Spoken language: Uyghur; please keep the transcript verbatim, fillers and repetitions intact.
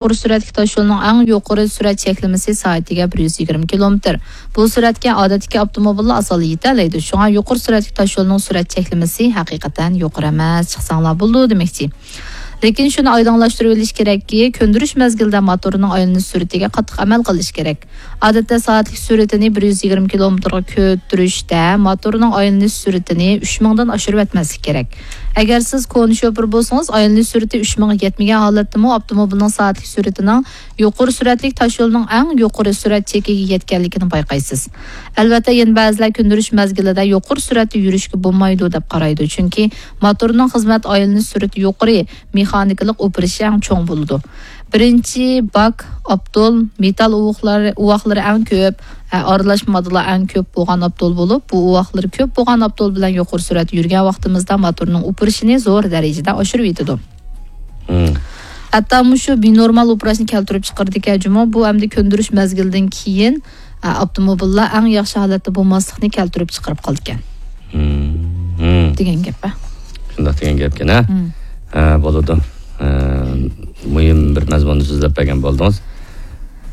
يۇقىرى سۈرئەتلىك تاشيولنىڭ ئەڭ يۇقىرى سۈرئەت چەكلىمىسى سائەتىگە بىر يۈز يىگىرمە كىلومېتىر. بۇ سۈرئەتكە ئادەتتىكى ئاپتوموبىللار ئاسانلا يېتەلەيدۇ. شۇڭا يۇقىرى سۈرئەتلىك تاشيولنىڭ سۈرئەت چەكلىمىسى ھەقىقەتەن يۇقىرى ئەمەس، چىقساڭلار بولىدۇ دېمەكچى. لېكىن شۇنى ئايدىڭلاشتۇرۇۋېلىش كېرەككى، كۆندۈرۈش مەزگىلىدە موتورنىڭ ئايلىنىش سۈرئىتىگە قاتتىق ئەمەل قىلىش كېرەك. ئادەتتە سائەتلىك سۈرئىتىنى بىر يۈز يىگىرمە كىلومېتىرغا كۆتۈرۈشتە موتورنىڭ ئايلىنىش سۈرئىتىنى ئۈچ مىڭدىن ئاشۇرۇۋەتمەسلىك كېرەك. ئەگەر سىز كونا شوپۇر بولسىڭىز، ئايلىنىش سۈرئىتى ئۈچ مىڭغا يەتمىگەن ھالەتتىمۇ ئاپتوموبىلنىڭ سائەتلىك سۈرئىتىنىڭ يۇقىرى سۈرئەتلىك تاشيولنىڭ ئەڭ يۇقىرى سۈرئەت چېكىگە يەتكەنلىكىنى بايقايسىز. ئەلۋەتتە، يەنە بەزىلەر كۆندۈرۈش مەزگىلىدە يۇقىرى سۈرئەتتە يۈرۈشكە بولمايدۇ دەپ قارايدۇ، چۈنكى موتورنىڭ خىزمەت ئايلىنىش سۈرئىتى يۇقىرى، مېخانىكىلىق ئوپىرىشى ئەڭ چوڭ بولىدۇ. بىرىنچى باك، ئاپتول، مېتال ئۇۋاقلار-، ئۇۋاقلىرى ئەڭ كۆپ، ئە، ئارىلاش ماددىلار ئەڭ كۆپ بولغان ئاپتول بولۇپ، بۇ ئۇۋاقلىرى كۆپ بولغان ئاپتول بىلەن يۇقىرى سۈرئەتتە يۈرگەن ۋاقتىمىزدا موتورنىڭ ئوپىرىشىنى زور دەرىجىدە ئاشۇرۇۋېتىدۇ. مم. ھەتتا مۇشۇ بىنورمال ئوپېراتسىيىنى كەلتۈرۈپ چىقىرىدىكەن جۇمۇ. بۇ ئەمدى كۆندۈرۈش مەزگىلىدىن كېيىن، ئە، ئاپتوموبىللار ئەڭ ياخشى ھالەتتە بولماسلىقنى كەلتۈرۈپ چىقىرىپ قالىدىكەن. مم. مم. دېگەن گەپ، ھە؟ شۇنداق دېگەن گەپكەن، ھە؟ مم. ھە، بولىدۇ. ھە، مۇھىم بىر مەزمۇننى سۆزلەپ بەرگەن بولدىڭىز.